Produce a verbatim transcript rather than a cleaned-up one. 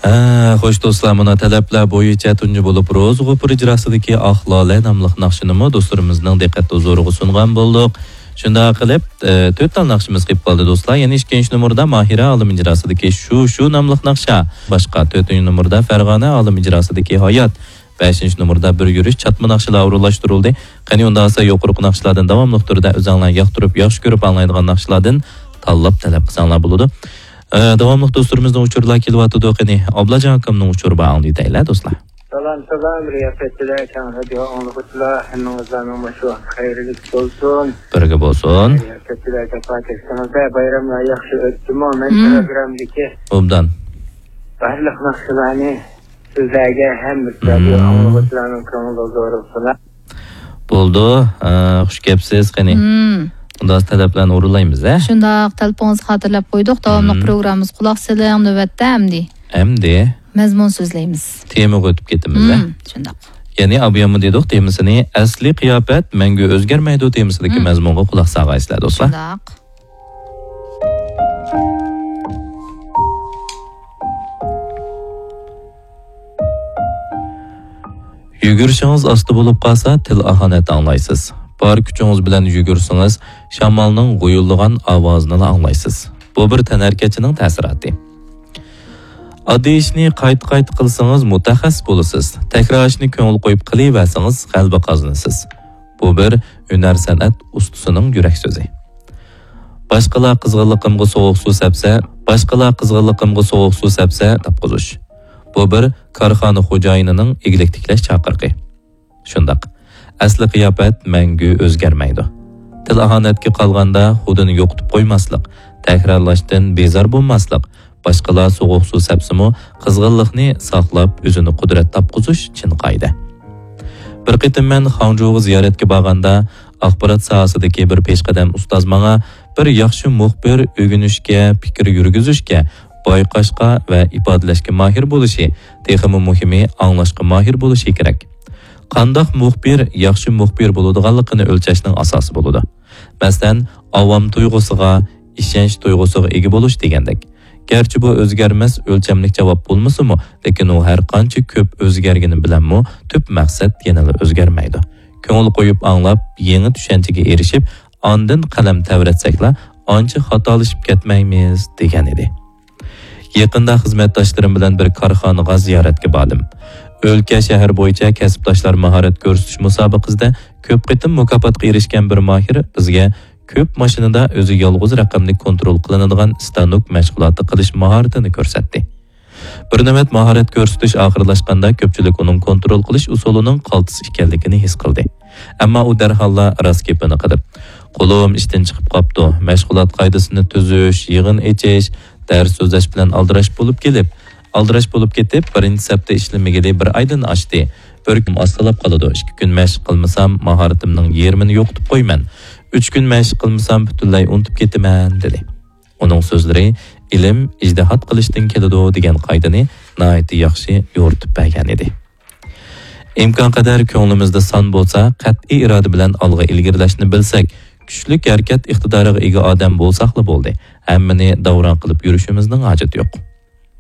ھە، خوش دوستلار، مانا تەلەپلەر بويىچە تۇنجى بولۇپ روزا غوپۇر ئىجراسىدىكى ئاق لالە ناملىق ناخشىنىمۇ دوستلىرىمىزنىڭ دىققەت ھۇزۇرىغا سۇنغان بولدۇق. شۇنداق قىلىپ، ئە، تۆت تال ناخشىمىز قېلىپ قالدى دوستلار. يەنى ئىككىنچى نومۇردا ماھىرە ئالىم ئىجراسىدىكى شۇ، شۇ ناملىق ناخشا. باشقا تۆتىنچى نومۇردا پەرغانە ئالىم ئىجراسىدىكى ھايات. بەشىنچى نومۇردا بىر يۈرۈش چاتما ناخشىلار ئورۇنلاشتۇرۇلدى. قېنى ئۇنداق بولسا يۇقىرىقى ناخشىلاردىن داۋاملىق تۈردە ئۆزەڭلار ياقتۇرۇپ، ياخشى كۆرۈپ ئاڭلايدىغان ناخشىلاردىن تاللاپ تەلەپ قىلساڭلار بولىدۇ. ئە، داۋاملىق دوستلىرىمىزنىڭ ئۇچۇرلار كېلىۋاتىدۇ. قېنى، ئابلاجان ئاكامنىڭ ئۇچۇرى بار، ئاڭلىتايلى، دوستلار. سالام، سالام، رىياسەتچىلەر، كەڭ رادىيو ئاڭلىغۇچىلار، ھەممىڭلارنىڭ مۇشۇ ۋاقتى خەيرلىك بولسۇن. بىرگە بولسۇن. رىياسەتچىلەر جاپا چەكتىڭىزدە، بايراملار ياخشى ئۆتتىمۇ؟ مەن مم. پروگراممىدىكى ئوبدان. بارلىق ناخشىلارنى سىزلەرگە ھەم رادىيو مم. ئاڭلىغۇچىلارنىڭ كۆڭلىدە زورۇقسىلا. بولدى، ئە، خۇش كەپسىز، قېنى. مم. ئۇنداق تەلەپلەرنى ئورۇنلايمىز، ھە؟ شۇنداق، تەلىپىڭىزنى خاتىرىلەپ قويدۇق. داۋاملىق مم. پروگراممىمىزغا قۇلاق سېلىڭ، نۆۋەتتە ئەمدى. ئەمدى. مەزمۇن سۆزلەيمىز. تېمىغا ئۆتۈپ كېتىمىز، ھە؟ مم، شۇنداق. يەنى ئابۇياممۇ دېدۇق، تېمىسىنى ئەسلىي قىياپەت مەڭگۈ ئۆزگەرمەيدۇ تېمىسىدىكى مم. مەزمۇنغا قۇلاق سالغايسىلەر، دوستلار. شۇنداق. يۈگۈرۈشىڭىز ئاستا بولۇپ قالسا، تىل ئاھانەت ئاڭلايسىز. بار كۈچىڭىز بىلەن يۈگۈرسىڭىز، شامالنىڭ غۇيۇلدىغان ئاۋازىنىلا ئاڭلايسىز. بۇ بىر تەنھەرىكەتچىنىڭ تەسىراتى. ئاددىي ئىشنى قايتا-قايتا قىلسىڭىز، مۇتەخەسسىس بولىسىز. تەكرار ئىشنى كۆڭۈل قويۇپ قىلىۋەرسىڭىز، غەلىبە قازىنىسىز. بۇ بىر ھۈنەر-سەنئەت ئۇستىسىنىڭ يۈرەك سۆزى. باشقىلار قىزغىنلىقىمغا سوغۇق سۇ سەپسە، باشقىلار قىزغىنلىقىمغا سوغۇق سۇ سەپسە، تاپقۇزۇش. بۇ بىر كارخانا خوجايىنىنىڭ ئىگىلىك تىكلەش چاقىرىقى. شۇنداق، ئەسلى قىياپەت مەڭگۈ ئۆزگەرمەيدۇ. تىل ئاھانەتكە قالغاندا خۇدىنى يوقىتىپ قويماسلىق، تەكرارلاشتىن بىزار بولماسلىق، باشقىلار سوغۇق سۇ سەپسىمۇ، قىزغىنلىقنى ساقلاپ، ئۆزىنى قۇدرەت تاپقۇزۇش چىن قائىدە. بىر قېتىم مەن خاڭجۇغا زىيارەتكە بارغاندا، ئاخبارات ساھەسىدىكى بىر پېشقەدەم ئۇستاز ماڭا بىر ياخشى مۇخبىر ئۆگىنىشكە، پىكىر يۈرگۈزۈشكە، بايقاشقا ۋە ئىپادىلەشكە ماھىر بولۇشى، تېخىمۇ مۇھىمى، ئاڭلاشقا ماھىر بولۇشى كېرەك. قانداق مۇخبىر ياخشى مۇخبىر بولىدىغانلىقىنى ئۆلچەشنىڭ ئاساسى بولىدۇ. مەسىلەن، ئاۋام تۇيغۇسىغا، ئىشەنچ تۇيغۇسىغا ئىگە بولۇش دېگەندەك. گەرچە بۇ ئۆزگەرمەس ئۆلچەملىك جاۋاب بولمىسىمۇ، لېكىن ئۇ ھەر قانچە كۆپ ئۆزگەرگىنى بىلەنمۇ تۈپ مەقسەت يەنىلا ئۆزگەرمەيدۇ. كۆڭۈل قويۇپ ئاڭلاپ، يېڭى چۈشەنچىگە ئېرىشىپ، ئاندىن قەلەم تەۋرەتسەكلا، ئانچە خاتالىشىپ كەتمەيمىز، دېگەن ئىدى. يېقىندا خىزمەتداشلىرىم بىلەن بىر كارخانىغا زىيارەتكە باردىم. ئۆلكە، شەھەر بويىچە كەسىپداشلار ماھارەت كۆرسىتىش مۇسابىقىسىدە كۆپ قېتىم مۇكاپاتقا ئېرىشكەن بىر ماھىر بىزگە كۆپ ماشىنىدا ئۆزى يالغۇز رەقەملىك كونترول قىلىنىدىغان ستانوك مەشغۇلاتى قىلىش ماھارىتىنى كۆرسەتتى. بىر نۆۋەت ماھارەت كۆرسىتىش ئاخىرلاشقاندا، كۆپچىلىك ئۇنىڭ كونترول قىلىش ئۇسۇلىنىڭ قالتىس ئىكەنلىكىنى ھېس قىلدى. ئەمما ئۇ دەرھاللا راست گېپىنى قىلىپ، «قولۇم ئىشتىن چىقىپ قاپتۇ، مەشغۇلات قائىدىسىنى تۈزۈش، يىغىن ئېچىش، دەرس سۆزلەش بىلەن ئالدىراش بولۇپ كېلىپ، ئالدىراش بولۇپ كېتىپ، بىرىنچى سەپتە ئىشلىمىگىلى بىر ئايدىن ئاشتى. بىر كۈن ئاستىلاپ قالىدۇ. ئىككى كۈن مەشىق قىلمىسام، ماھارىتىمنىڭ يېرىمىنى يوقىتىپ قويىمەن. ئۈچ كۈن مەشىق قىلمىسام، پۈتۈنلەي ئۇنتۇپ كېتىمەن» دېدى. ئۇنىڭ سۆزلىرى «ئىلىم ئىجتىھات قىلىشتىن كېلىدۇ» دېگەن قائىدىنى ناھايىتى ياخشى يورۇتۇپ بەرگەن ئىدى. ئىمكانقەدەر كۆڭلىمىزدە سان بولسا، قەتئىي ئىرادە بىلەن ئالغا ئىلگىرىلەشنى بىلسەك، كۈچلۈك ھەرىكەت ئىقتىدارىغا ئىگە ئادەم بولساقلا بولدى. ھەممىنى داۋراڭ قىلىپ يۈرۈشىمىزنىڭ ھاجىتى يوق.